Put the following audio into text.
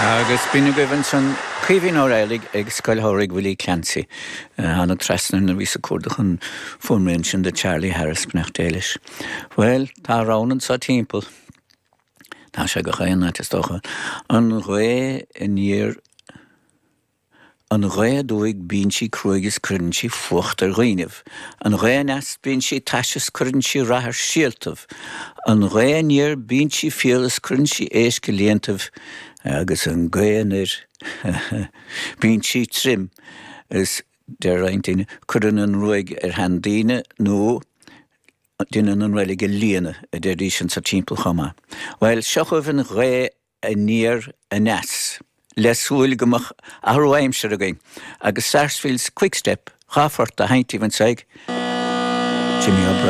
Agus b'in agaibh ansan Caoimhín Ó Raghallaigh ag Scoil Shamhraidh Willie Clancy. Tháinig trasna nuair a bhíos ag cuardach an fuaimrian sin de Charlie Harris, beannacht Dé leis. Bhuel, tá rann anso timpeall. Tá sé gach aon áit is dócha. An ghaoth aniar. An ghaoth aduaidh bíonn sí cruaidh is cuireann sí fuacht ar dhaoinibh. An ghaoth aneas bíonn sí tais is cuireann sí rath ar síoltaibh. An ghaoth aniar bíonn sí fial is cuireann sí éisc i líontaibh agus an ghaoth anoir bíonn sí trim is deir roinnt daoine cuireann an ruaig ar shean daoine nó deineann an reilig a líonadh a deiridís anso timpeall chomh maith. Bhuel seo chugaibh an ghaoth aniar aneas, le súil go mbeadh athrú aimsire againn, agus Sarsfield's Quickstep, dha phort á sheinnt daoibh anso ag Jimmy O'Brien.